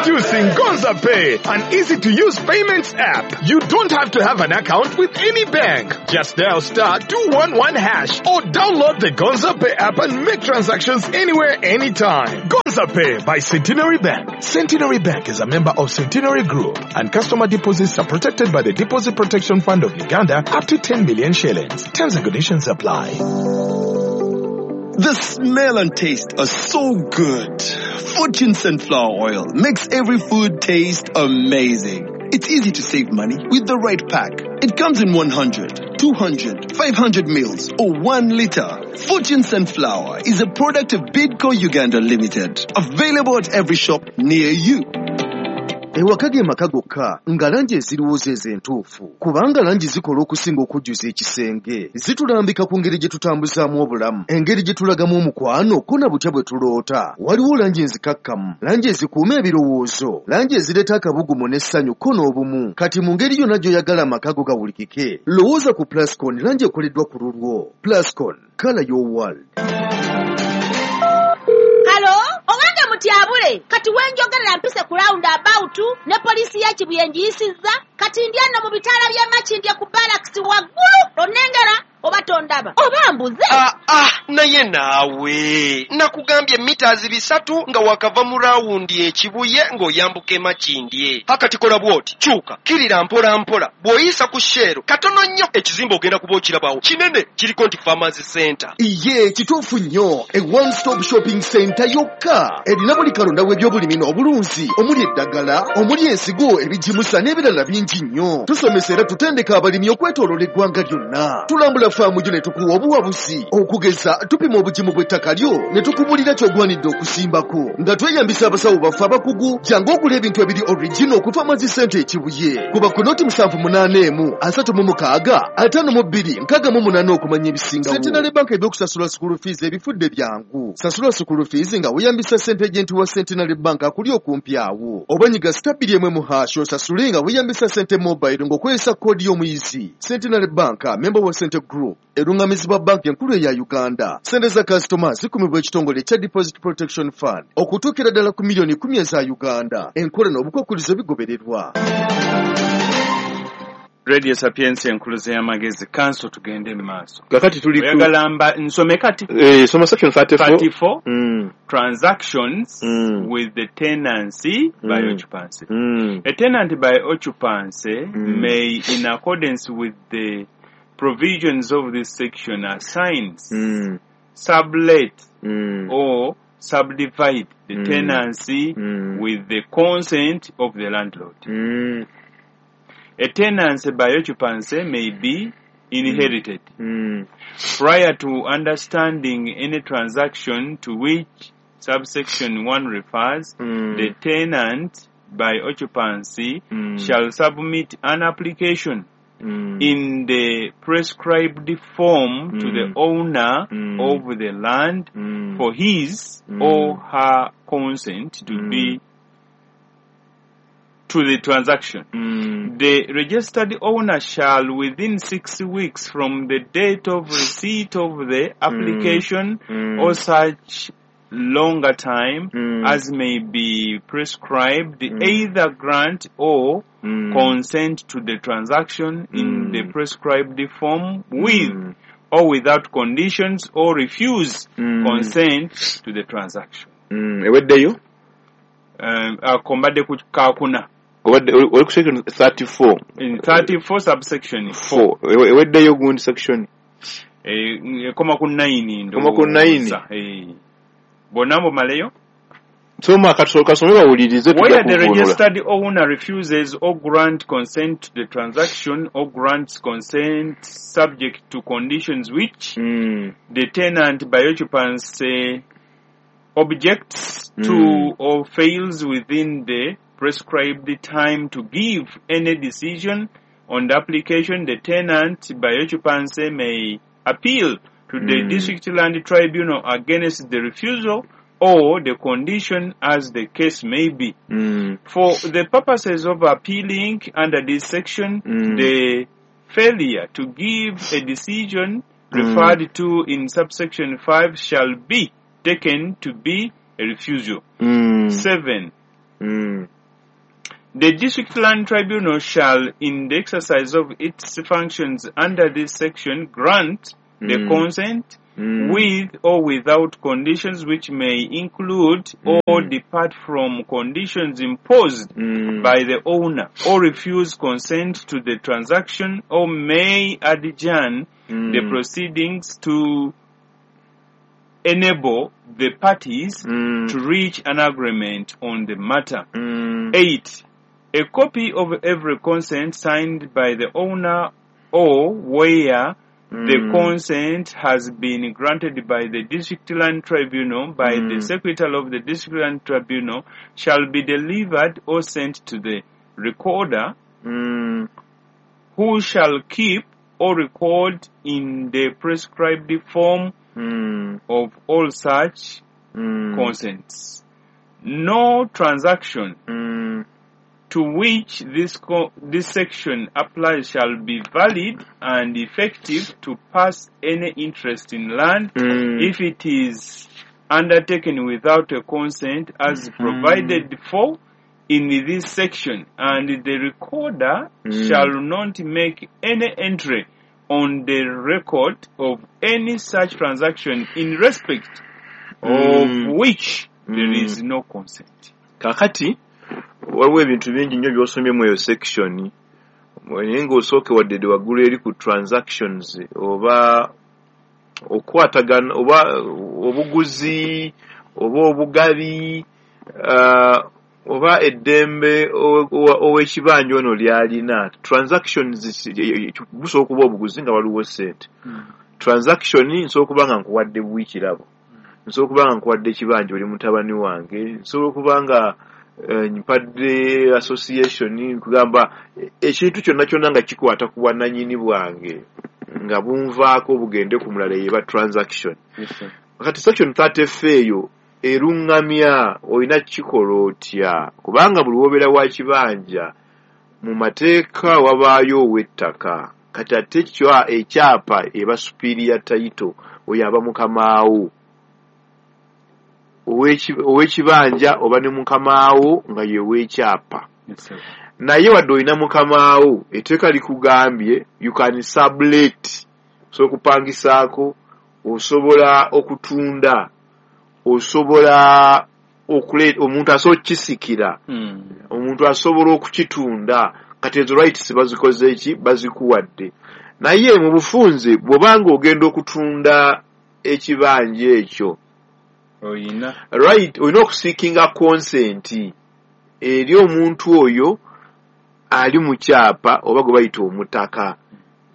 Introducing Gonza Pay, an easy-to-use payments app. You don't have to have an account with any bank. Just dial *211# or download the Gonza Pay app and make transactions anywhere, anytime. Gonza Pay by Centenary Bank. Centenary Bank is a member of Centenary Group, and customer deposits are protected by the Deposit Protection Fund of Uganda up to 10 million shillings. Terms and conditions apply. The smell and taste are so good. Fortune Sunflower Oil makes every food taste amazing. It's easy to save money with the right pack. It comes in 100, 200, 500 mils or 1 liter. Fortune Sunflower is a product of Bidco Uganda Limited. Available at every shop near you. Ewaka ge maka gokka nga langi eziriwo ze entuufu, kubanga langi zikola okusinga okujjuza ekisenge. Zitulambika ku ngeri gye tutambuzaamu obulamu, engeri gye tulagamu omukwano, ko na butya bwe tuloota. Waliwo langi enzikakkamu, langi ezikuuma ebirowoozo, langi ezireeta akabugumu n'essanyu ko n'obumu. Kati mu ngeri yonna gy'oyagala amaka go gawulikike, lowooza ku Plascon, langi ekoleddwa ku lulwo. Plascon, color your world. Halo, owange mutyabule, kati wenjogerera mpise ku round about ne poliisi ya Kibuye ngiyisizza, kati ndi ano mu bitaala by'e Makindye ku barracks waggulu, onnengera oba tondaba oba mbuze. Naye naawe nakugambye mita 300 nga wakava mu rawundi e Kibuye ng'oyambuka e Makindye. Akati kola bw'oti, kyuka kirira mpola mpola, bw'oyisa ku Shell katono nnyo ekizimbe ogenda kuba okirabawo kinene, kiriko nti Farmers Center. Iye kituufu nnyo, a one stop shopping center yokka erina buli kalonda w'ebyobulimi n'obulunzi, omuli eddagala, omuli ensigo, ebigimusa n'ebirala bingi nnyo. Tusomesa era tutendeka abalimi okwetooloola eggwanga lyonna. Tulambula faamu gyo ne tukuwa obuwabuzi, okugeza tupima obugimu bw'ettaka lyo ne tukubulira ky'ogwanidde okusimbako nga tweyambisa abasawo baffe abakugu. Jangu ogula ebintu ebiri original ku Farmers Center e Kibuye. Kuba ku noti 781 36 52 68 okumanya ebisingawo. Centenary Bank ebyokusasula school fees ebifudde byangu. Sasula school fees nga weeyambisa ssente agent wa Centenary Bank akuli okumpi awo, oba nyiga *1 osasule nga weeyambisa ssente mobile ng'okozesa koodi y'omuyizi. Centenary Bank, member wa Cente Group, erungamizibwa banki enkulu eya Uganda. Ssente za kasitoma zikumibwa ekitongole ekya Deposit Protection Fund okutuukira ddala ku miliyoni 10 eza Uganda. Enkola n'obukwakkulizo bigobererwa. Radio Sapientia enkuluze y'amagezi. Kanso tugende mu maaso. Kakati tuli ku Oyagala mba nsome kati? Soma section 34. 34. Transactions with the tenancy by occupancy. A tenant by occupancy may, in accordance with the provisions of this section, assign, sublet, or subdivide the tenancy with the consent of the landlord. A tenancy by occupancy may be inherited. Prior to understanding any transaction to which subsection 1 refers, the tenant by occupancy shall submit an application in the prescribed form to the owner of the land for his or her consent to be to the transaction. The registered owner shall, within 6 weeks from the date of receipt of the application or such longer time as may be prescribed, either grant or consent to the transaction in the prescribed form with or without conditions, or refuse consent to the transaction. Eweddeyo? Akombadde ku kakuna. Obadde oli ku section 34. In 34 subsection 4. 4. Eweddeyo gundi section. Ekoma ku 9 Ekoma ku 9. ndowooza. Bonna mumaleyo? Soma kasome bawulirize tujja Where the kuvvuunula. registered owner refuses or grant consent to the transaction or grants consent subject to conditions which the tenant by occupancy objects to or fails within the prescribed time to give any decision on the application, the tenant by occupancy may appeal to the District Land Tribunal against the refusal or the condition, as the case may be. For the purposes of appealing under this section, the failure to give a decision referred to in subsection 5 shall be taken to be a refusal. 7. The District Land Tribunal shall, in the exercise of its functions under this section, grant the consent with or without conditions which may include or depart from conditions imposed by the owner, or refuse consent to the transaction, or may adjourn the proceedings to enable the parties to reach an agreement on the matter. 8. A copy of every consent signed by the owner or where the consent has been granted by the District Land Tribunal by the Secretary of the District Land Tribunal shall be delivered or sent to the recorder, who shall keep or record in the prescribed form of all such consents. No transaction to which this section applies shall be valid and effective to pass any interest in land if it is undertaken without a consent as provided for in this section, and the recorder shall not make any entry on the record of any such transaction in respect of which there is no consent. Kakati waliwo ebintu bingi nnyo by'osomye mu eyo section, naye ng'osooke wadde waggulu eri ku transactions oba okukwatagana oba obuguzi oba obugabi oba eddembe ow'ekibanja ono ly'alina. Transactions busobola okuba obuguzi nga waliwo ssente. Transaction nsobola okuba nga nkuwadde buwi kirabo, nsobola okuba nga nkuwadde ekibanja oli mutabani wange, nsobola okuba nga mpadde association, kugamba ekintu kyonna kyonna nga kikwata ku bwannannyini bwange nga bunvaako bugende ku mulala, yeba transaction. Kati section 30F eyo eruŋŋamya olina kukikola otya, kubanga buli wobeera wa kibanja mu mateeka wabaayo ow'ettaka. Kati ate ekyapa eba superior title, oyo aba mukamaawo ow'ekibanja oba ne mukamaawo nga ye w'ekyapa. Naye wadde olina mukamaawo, etteeka likugambye you can sublet, osobola okupangisaako, osobola okutunda, osobola omuntu asobola okukisikira, omuntu asobola okukitunda. Kati ezo rights bazikoze ki? Bazikuwadde. Naye mu bufunze bw'obanga ogenda okutunda ekibanja ekyo, right, olina okuseekinga consent eri omuntu oyo ali mu kyapa oba gwe bayita omutaka,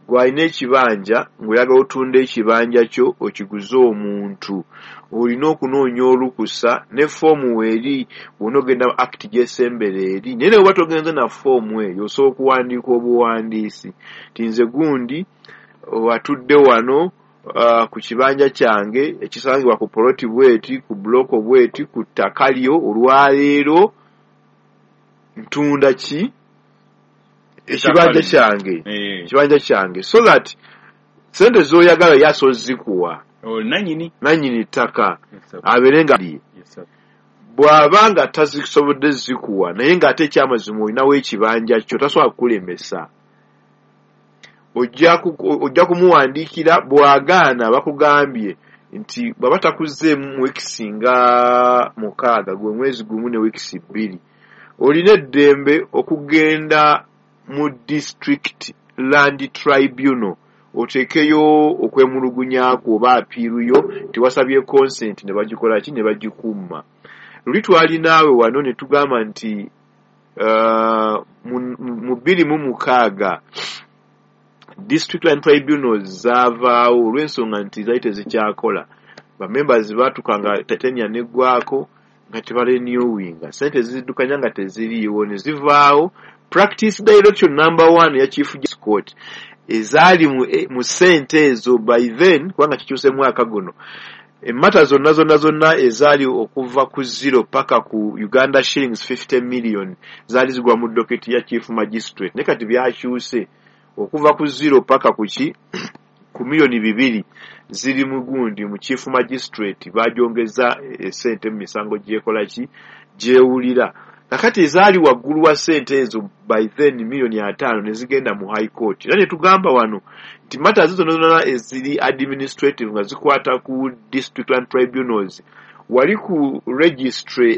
gw'alina ekibanja ng'oyagala otunda ekibanja kyo okiguze omuntu, olina okunoonya olukusa ne foomu weeri bw'ona ogenda act gy'esembera eri. Naye ne bw'oba togenze na foomu eyo, osobola okuwandiika obuwandiisi nti nze gundi atudde wano ku kibanja kyange ekisangibwa ku poloti bweti, ku buloko bweti, ku ttaka lyo, olwaleero ntunda ki ekibanja kyange, ekibanja kyange, so that sente z'oyagala ye asobola ozikuwa nannyini ttaka abeere nga bw'aba nga tazisobodde zikuwa, naye ng'ate ekyamazima olinawo ekibanja kyo, tasobola kukulemesa. Ojja kumuwandiikira, bw'agaana bakugambye nti bw'aba takuzzeemu mu wiikisi nga 6, gwe mwezi 1 ne wiikisi 2, olina eddembe okugenda mu District Land Tribunal oteekeyo okwemulugunya kwo oba apiiru yo nti wasabye consent ne bagikola ki, ne bagikumma. Luli twali naawe wano ne tugamba nti mu 2006 District Land Tribunals zaavaawo olw'ensonga nti zaali tezikyakola. Bamembers baatuuka nga tenure neggwako nga tebarenewinga, ssente ziddukanya nga teziriiwo ne zivaawo. Practice direction number 1 ya Chief Justice Court ezaali mu ssente ezo by then, kubanga kikyuse mwaka guno, emmata zonna zonna zonna ezaali okuva ku 0 paka ku Uganda shillings 50 million zaali zigwa mu docket ya Chief Magistrate. Naye kati byakyuse okuva ku 0 paka ku ki ku miliyoni 2 ziri mu gundi mu Chief Magistrate, bagyongeza essente mu misango gyekola ki gyewulira. Kakati ezaali waggulu wa ssente ezo by then 50,000,000 ne zigenda mu High Court. Era ne tugamba wano nti matters zonna zonna eziri administrative nga zikwata ku district land tribunals, wali ku registry.